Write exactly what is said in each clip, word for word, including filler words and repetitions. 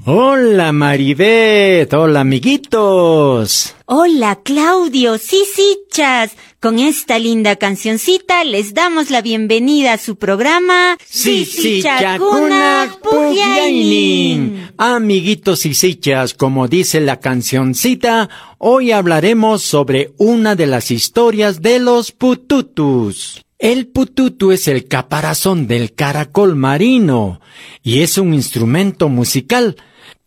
Hola Maribeth, hola amiguitos. Hola Claudio, sisichas. Con esta linda cancioncita les damos la bienvenida a su programa Sisichakuna Pukllaynin. Amiguitos sisichas, como dice la cancioncita, hoy hablaremos sobre una de las historias de los pututus. El pututu es el caparazón del caracol marino y es un instrumento musical,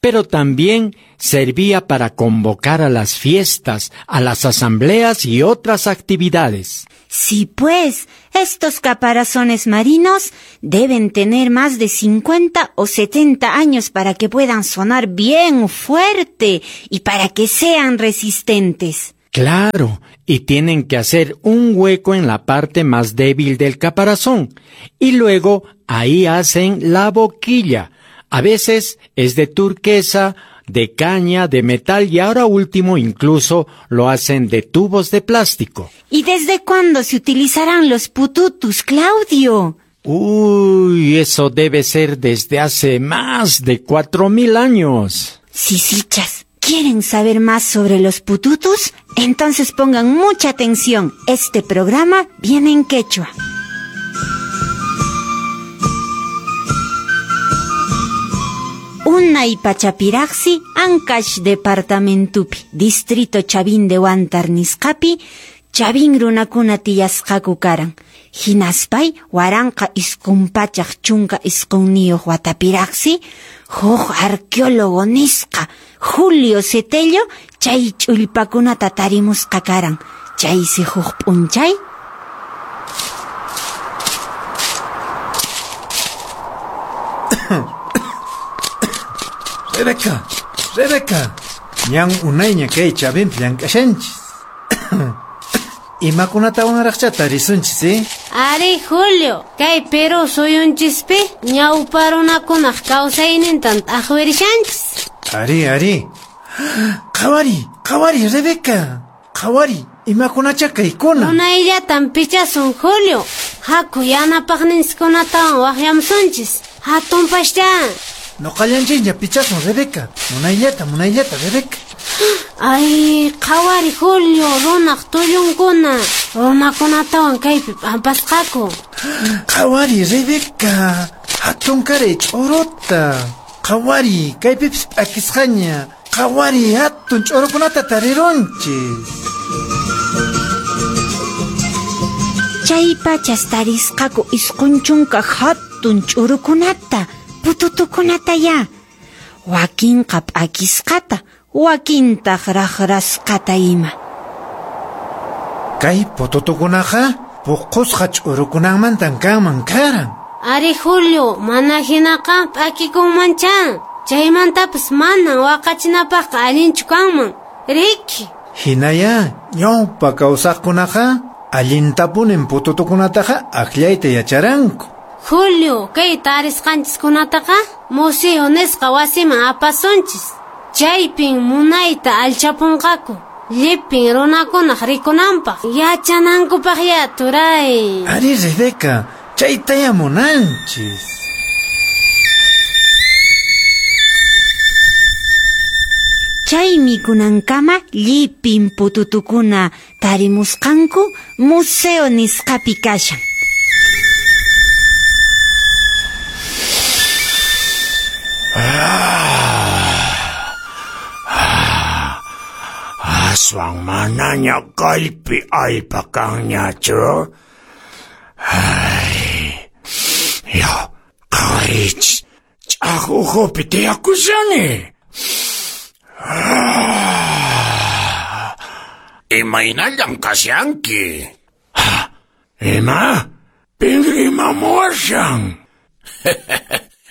pero también servía para convocar a las fiestas, a las asambleas y otras actividades. Sí, pues, estos caparazones marinos deben tener más de cincuenta o setenta años para que puedan sonar bien fuerte y para que sean resistentes. Claro, y tienen que hacer un hueco en la parte más débil del caparazón y luego ahí hacen la boquilla. A veces es de turquesa, de caña, de metal y ahora último incluso lo hacen de tubos de plástico. ¿Y desde cuándo se utilizarán los pututus, Claudio? Uy, eso debe ser desde hace más de cuatro mil años. Sisichas, ¿quieren saber más sobre los pututus? Entonces pongan mucha atención. Este programa viene en quechua. Unay pachapiraqsi Ancash departamentupi, distrito Chavín de Huántar nisqapi, Chavín runakuna tiyasqaku karan. Hinaspay waranqa isqun pachaq chunka isqunniyuq watapiraqsi, huk arqueólogo nisqa Julio Cetello chay ch'ullpakunata tarimusqa karan. Chaysi huk p'unchay Rebeca, Rebeca, ñan unayña kay Chavinpi llank'ashanchis. Imakunatawanraqcha tarisunchis, eh? Ari Julio, kay Perú suyunchispi ñawpa runakunaq kawsaynintan t'aqwirishanchis. Ari, ari. Qhawari, qhawari, Rebeca. Qhawari, imakunacha kaykuna. Unayllatan pichasun, Julio. Haku yanapaqninchiskunatawan waqyamusunchis. Hatunpascha. Noqallanchikña pichasun, Rebeca. Munayllata, munayllata, Rebeca. Ay, qhawari, Julio, runaq tullunkuna. Runakunatawan kaypi p'ampasqaku. Qhawari, Rebeca. Hatunkaray ch'uruta. Qhawari, kaypipis p'akisqaña. Qhawari, hatun ch'urukunata tarirunchis. Chay pachas tarisqaku isqun chunka hatun ch'urukunata. Pututukunata ya. Wakinqa p'akisqata, wakintaq raqrasqata ima. Kay pututukunaqa puqusqa ch'urukunanmantan kanman karan. Ari Julio, mana hinaqa p'akikunmancha. Chaymantapas manan waqachinapaqqa allinchu kanman. Riki. Hinaya, ñawpa kawsaqkunaqa allintapunin pututukunataqa akllayta yacharanku. Julio, kay tarisqanchiskunataqa museo nisqa wasiman apasunchis. Chaypin munayta alchapunqaku. Llipin runakunaq rikunanpaq, yachanankupaq ya turay. Ari Rebeca, chaytaya munanchis. Chaymi kunankama llipin pututukuna tarimusqanku museo nisqapi kashan. Aswan manaña kaypi allpa kanñachu. Ay, ya, qhawarich, ch'aku ukhupi tiyakushani. Imaynallam kashanki. Ima? Pin rimamuwashan?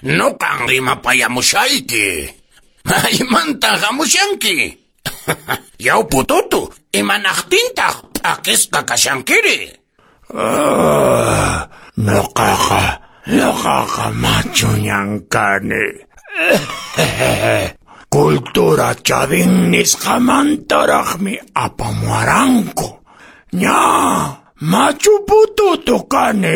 Nuqan rimapayamushayki. Maymantan hamushanki? Yaw pututu, imanaqtintaq p'akisqa kashankiri? Ah, nuqaqa, nuqaqa machuñan kani. Cultura Chavín nisqamantaraqmi apamuwaranku. Ña, machu pututu kani.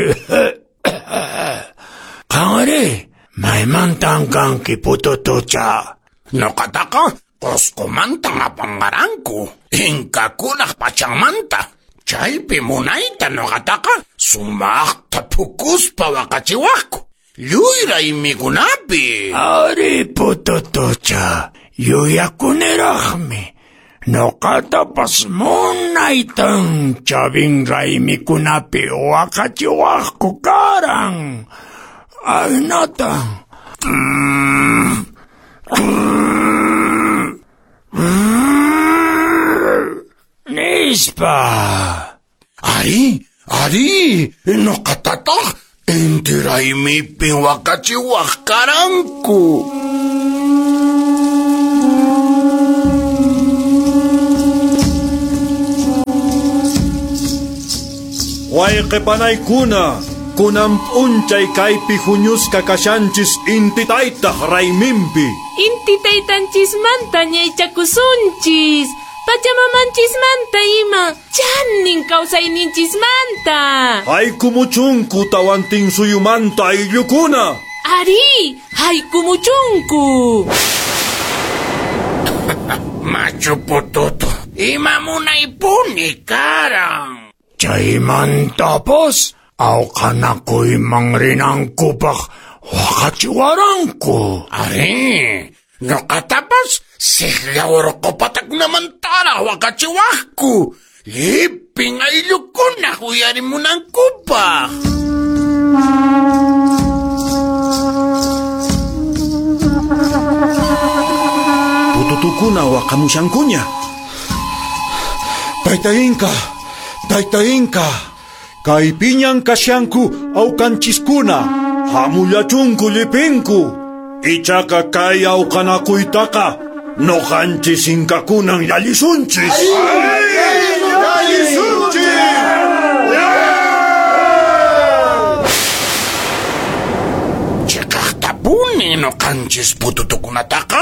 Qanri, maymantan kanki pututucha? Noqataqa Qusqumantan apanqaranku, inkakunaq pachanmanta. Chaypi munayta noqataqa sumaqta phukuspa waqachiwaqku. Lluy raymikunapi. Ari pututucha, yuyakuniraqmi. Noqatapas munaytan Chavín raymikunapi waqachiwaqku karan. Aynatan. Nispa. Ari, ari, noqatataq inti raymipin waqachiwaq karanku. Wayqipanaykuna, kunan p'unchay kaypi huñusqa kashanchis inti taytaq rayminpi. Inti taytanchismanta ñaychakusunchis, pachamamanchismanta ima, chanin kawsayninchismanta. Haykumuchunku tawantinsuyumanta ayllukuna. Ari, haykumuchunku. Machu pututu, ima munaypuni karan. Chaymantapas awqanakuyman rinankupaq waqachiwaranku. Ari, noqatapas siqlla urqupatakunamantaraq waqachiwaqku. Llipin ayllukunaq uyarimunankupaq. Pututukuna waqamushankuña. Tayta Inka, Tayta Inka, kaypiñan kashanku awqanchiskuna, hamullachunku llipinku. Ichaqa kay awqanakuytaqa noqanchis inkakunan llallisunchis. Chiqaqtapuni noqanchis pututukunataqa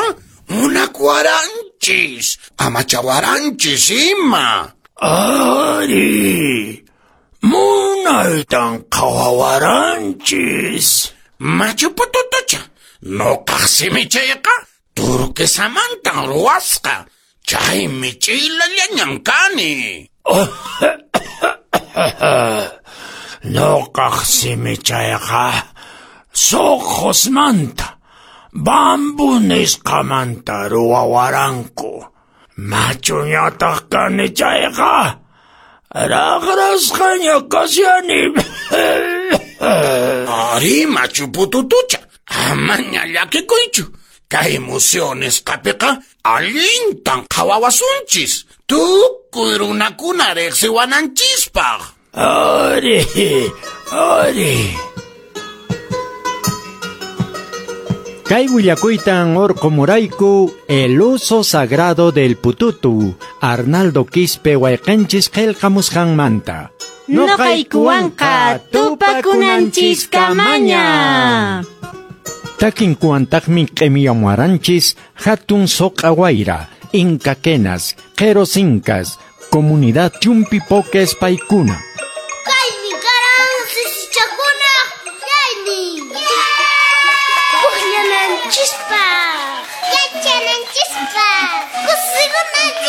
munakuwaranchis, amachawaranchis ima. Ari, munaytan qhawawaranchis. Machu pututucha, noqaq simichayqa turquesamantan ruwasqa. Chaymi ch'ilallañan kani. Noqaq simichayqa soqosmanta, bambu nisqamanta ruwawaranku. Machuñataq kani chayqa, raqrasqaña kashani. Ari, machu pututucha, amaña llakikuychu. Kay museo nisqapiqa allintan qhawawasunchis. Tukuy runakuna riqsiwananchispaq. Ari, ari. Kay willakuytan urqumurayku el uso sagrado del pututu, Arnaldo Quispe wayqanchis qillqamusqanmanta. Noqaykuwanqa tupakunanchiskamaña. Takinkuwantaqmi q'imiyamuwaranchis hatun soq'a wayra, inkakenas, q'eros incas, comunidad Chumpipoques paykuna. Kaymi karan sisichakunaq pukllaynin. Pukllananchispaq, yachananchispaq, kusikunanchispaq.